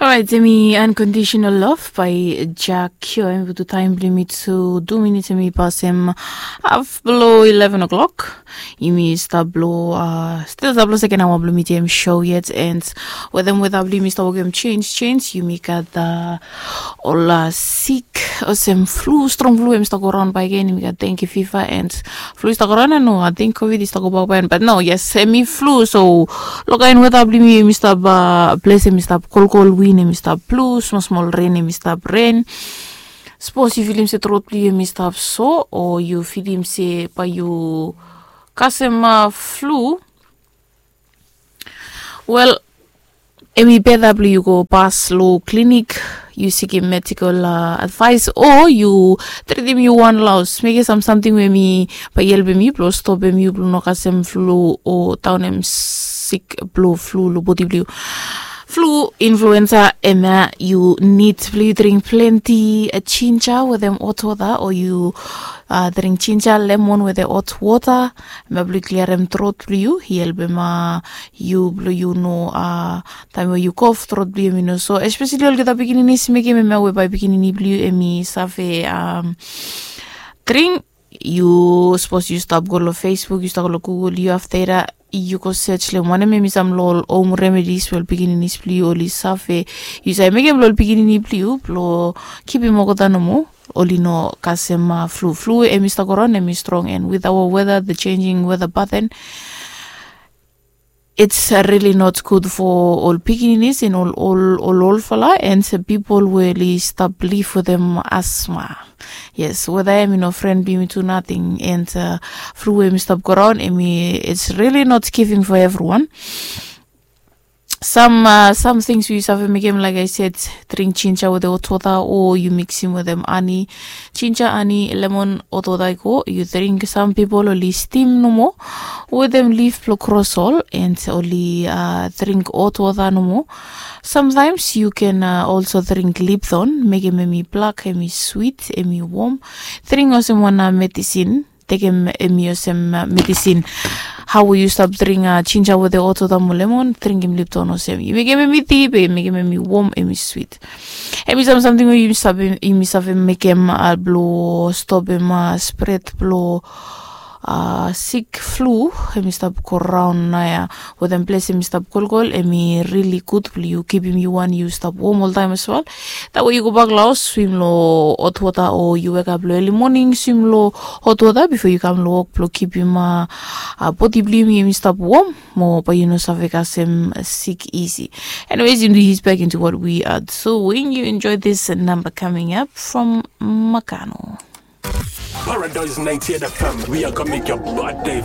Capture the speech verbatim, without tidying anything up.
Orait, em i Unconditional Love by Jack Kyo. Em i putum taem blong yumi tu tu minits, em i pasem haf blong eleven o'clock. Yumi stap blong, stil stap blong seken aoa blong mitim show yet. And wetem weta blong yumi stap wokem jenis jenis, yumi gat ol sik olsem flu, strong flu em i stap go raon bakegen. Yumi gat dengue fever and flu i stap go raon ya, no, ating covid i stap go bak bae. Bat no, yes, em i flu. So lo kaen weta blong yumi, em i stap ples, em i stap kolkol win, em i stap blu, smol smol ren, em i stap ren. Sapos yu filim se trot blong yu em i stap so, o yu filim se bae yu kasem flu, wel, em i beta blong yu go pas lo klinik, yu sikim medikol advaes, o yu tritim yu wan laos, mekem sam samting we em i bae i helpem yu blong stopem yu blong no kasem flu o daonem sik blong flu lo bodi blong yu. Flu, influensa, hemia yu nid blong yu dring plante jinja wetem hot wota, o yu dring jinja, lemon wetem hot wota, hemia blong yu kliarem trot blong yu, i helpem yu blong yu no, taem we yu kof, trot blong yu em i no so. Espeseli olgeta pikininis, mekem hemia we bae pikinini blong yu em i save dring. Yu, sapos yu stap go lo Facebook, yu stap go lo Google, yu afta ya yu go sej long wanem em i sam lo ol home remedies we ol pikininis blong yu oli save, yu save mekem lo ol pikinini blong yu blong kipim olgeta nomo oli no kasem flu. Flu em i stap go raon, em i strong, and with our weather, the changing weather pattern, it's really not good for ol pikininis and ol ol ol olfala and pipol we oli stap liv wetem asma. Yes, weta ya em i no fren blong yumi tu nating, and flu we em i stap go raon, em i, it's really not giving for evriwan. Sam sam tings we yu save mekem, like I said, dring jinja wetem hot wota o yu miksim wetem ani, jinja, ani, lemon, hot wota i go, yu dring. Sam pipol oli stim nomo wetem lif blong krosol, and oli dring hot wota nomo. Samtaems yu ken also dring Lipton, mekem em i blak, em i swit, em i wom. Dring olsem wan medisin, tekem em i olsem medisin. Hao we yu stap dring jinja wetem hot wota mo lemon, dringim Lipton olsem. Yu mekem em i ti, be mekem em i wom, em i swit. Em i sam samting we yumi save mekem blong stopem spred blong sik flu em i stap go raon naoia. Wetem ples em i stap kolkol, em i rili gud blong yu kipim yu wan yu stap wom oltaem as wel. Taem we yu gobak lo haos, swim lo hot wota, o yu wekap lo eli moning, swim lo hot wota bifo yu kam lo wok blong kipim bodi blong yumi em i stap wom mo bae yu no save kasem sik isi. Anyways, yumi hit back into what we are doing. You enjoy this number coming up from Makano. Paradise ninety-eight F M, we are gonna make your bad day